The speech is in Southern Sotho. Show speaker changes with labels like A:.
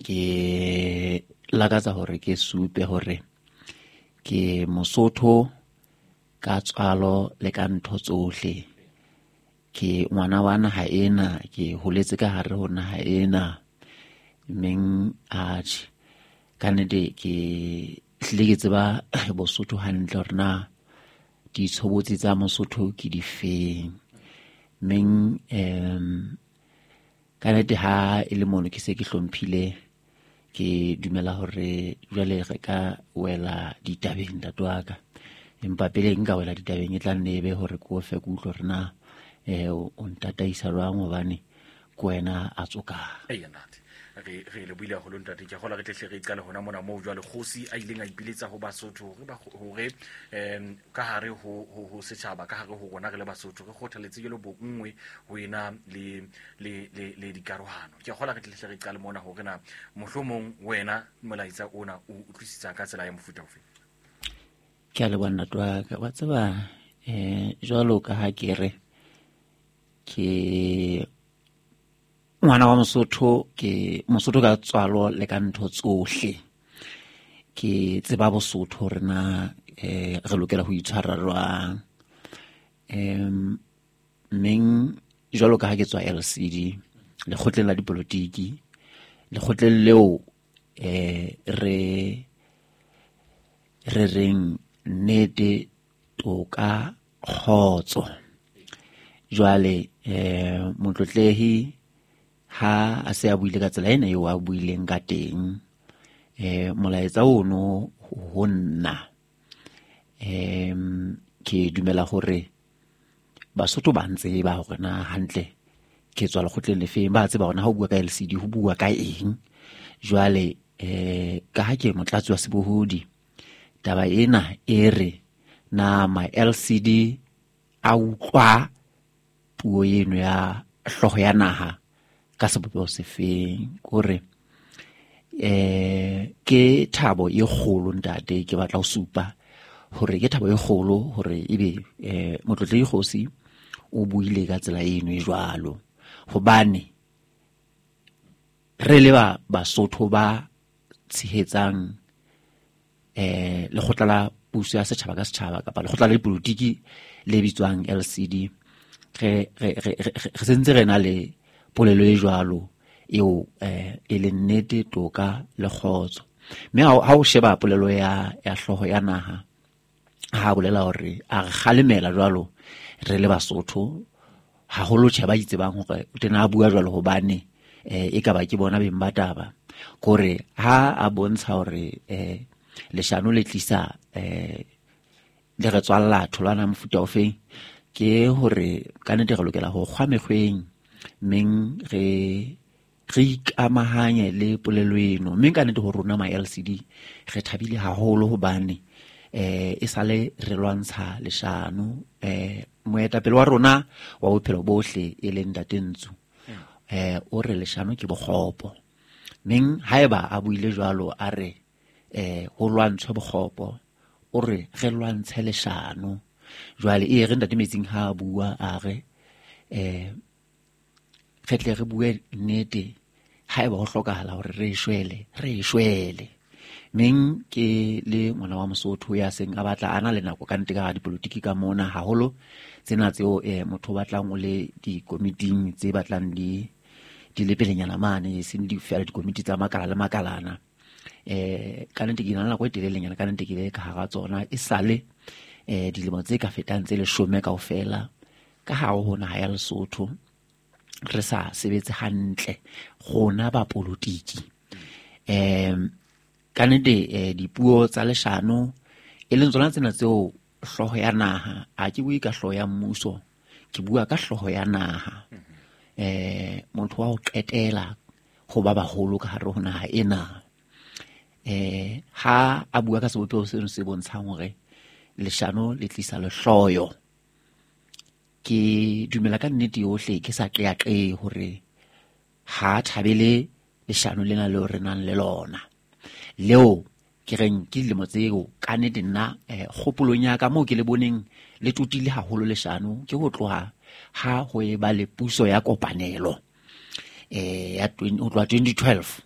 A: Ke lakatsa hore ke supe hore ke Mosotho ka tswalo le ka ntho tsohle. Ke ngwana wa naha ena, ke holetse ka hare ho naha ena. Mmeng atjhe, ka nnete ke hlile ke tseba Bosotho hantle hore na ditshobotsi tsa Mosotho ke difeng. Mmeng ka nnete ha e le mono ke se ke hlomphile, ke dumela hore jwale re ka wela ditabeng, ntate wa ka. Empa pele nka wela ditabeng, e tla nne e be hore ke o fe ke utlwe hore na o ntataisa jwang, hobane ke wena a tsokang.
B: Eya ntate, re lebohile haholo ntate. Ke a kgolwa re tle hle re qale hona mona moo jwale kgosi a ileng a ipiletsa ho Basotho hore hore ka hare ho setjhaba, ka hare ho rona re le Basotho, re kgothaletse jwalo bonngwe ho ena le dikarohano. Ke a kgolwa re tle hle re qale mona hore na mohlomong wena molaetsa ona o utlwisisa ka tsela ya mofuta ofe.
A: Ke a leboha, ntate wa ka. Wa tseba, jwalo ka ha ke re ke ngwana wa Mosotho, ke Mosotho ka tswalo le ka ntho tsohle. Ke tseba Bosotho hore na re lokela ho itshwara jwang. Mmeng jwalo ka ha ke tswa LCD, lekgotleng la dipolotiki, lekgotleng leo re reng nnete, toka, kgotso. Jwale motlotlehi ha a se a buile ka tsela ena eo a buileng ka teng, molaetsa ono ho nna, ke dumela hore Basotho ba ntseba hore na hantle ke tswa lekgotleng lefeng. Ba tseba hore na ha o bua ka LCD ho bua ka eng. Jwale ka ha ke motlatsi wa sebohodi, taba ena e re na ma LCD a utlwa puo eno ya hlooho ya naha ka sebopeho sefeng? Kore ke thabo e kgolo, ntate. Ke batla ho supa hore ke thabo e kgolo hore ebe motlotlehi kgosi o buile ka tsela eno e jwalo, hobane re le ba Basotho ba tshehetsang lekgotla la puso ya setjhaba ka setjhaba, kapa lekgotla la dipolotiki le bitswang LCD, re sentse re na le polelo e jwalo eo e leng nnete, toka le kgotso. Mme ha o sheba polelo ya hlooho ya naha, ha bolela hore a re kgalemela jwalo re le Basotho haholo, tjhe, ba itsebang hore o tena a bua jwalo hobane e ka ba ke bona beng ba taba. Kore ha a bontsha hore leshano le tlisa le re tswalla tholwana mofuta ofeng, ke hore ka nnete re lokela ho kgwa mekgweng, mmeng re ikamahanye le polelo eno. Mme ka nnete ho rona ma LCD re thabile haholo, hobane e sale re lwantsha leshano. Moetapele wa rona wa bophelo bohle, e leng Ntate Ntsu, o re leshano ke bokgopo. Meng haeba a buile jwalo, a re ho lwantshwe bokgopo, o re re lwantshe leshano. Jwale e re Ntate Metsing ha a bua, a re re tle re bue nnete, haeba ho hlokahala hore re shwele, re shwele. Meng ke le ngwana wa Mosotho ya seng a batla a na le nako ka nnete ka hara dipolotiki ka mona, haholo tsena tseo motho o batlang o le dikomiting tse batlang di le pelenyana mane, e seng di fela dikomiti tsa makala le makalana. Ka nnete ke na le nako e telelenyana ka nnete ke le ka hara tsona, e sale dilemo tse ka fetang tse 10 kaofela ka hare ho naha ya Lesotho re sa sebetse hantle rona ba polotiki. Ka nnete dipuo tsa leshano e leng tsona tsena tseo hlooho ya naha, a ke bue ka hlooho ya mmuso, ke bua ka hlooho ya naha, motho wa ho qetela ho ba baholo ka hare ho naha ena, ha a bua ka sebopeho seno se bontshang hore leshano le tlisa lehloyo, ke dumela ka nnete yohle, ke sa qeaqee hore ha thabele leshano lena leo re nang le lona, leo ke reng ke dilemo tseo ka nnete nna kgopolong ya ka moo ke le boneng le totile haholo leshano, ke ho tloha ha ho e ba le puso ya kopanelo ya ho tloha 2012.